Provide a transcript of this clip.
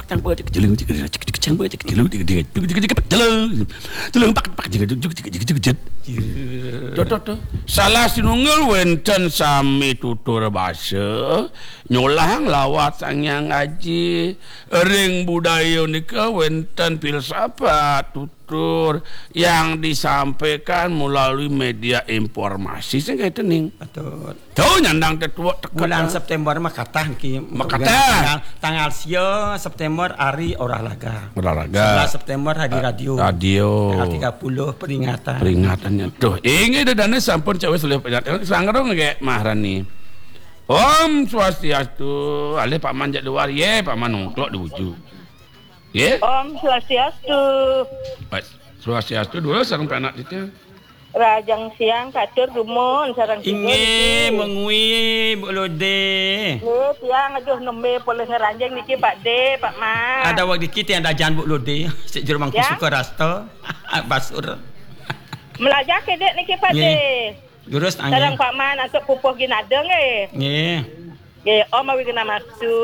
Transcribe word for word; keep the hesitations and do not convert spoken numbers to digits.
Cang, cek, jeleng, cek, cek, cek, cang, cek, jeleng, cek, cek, cek, cek, jeleng, jeleng, pak, pak, cek, cek, cek, cek, cek, cek. Tuh, tuh, tuh. Salah sinunggil wénten sami tutur basa, nyolahang lawat Sang Hyang Aji. Ring budaya nika wénten filsafat tutur yang disampaikan melalui media informasi sing kaitu ning. Betul. Tuh nyandang tetuwuk teka. Bulan September mah katah niki. Mah katah. Tanggal, tanggal sia September hari olahraga. Olahraga. Sebelas September hari radio. Radio. Tanggal tiga puluh peringatan. Peringatannya. Tuh, inggih dedane sampun cawis oleh peringatan. Sangrung nggih Maharani. Om Swastiastu. Alih Pak Man jak luar. Ye, Pak Man nongklok di ujung. Ye. Om Swastiastu. Baik. Swastiastu dulu sareng penak kita. Rahajeng siang katur dumun sareng tiga. Inggih, niki. Mengwi, Bu Lode. Nggih, tiang aduh nembe polih ngranjing niki, Pak De, Pak Man. Ada wak dikit yang dajan Bu Lode. Sik jero mangku. Ya? Suka rasta. Basur. Melajah kedek niki, Pak De. Nggih. Durus, ah, sareng nggih. Pak Man antuk pupuh ginada nggih. Nggih. Nggih, Om Awighnamastu.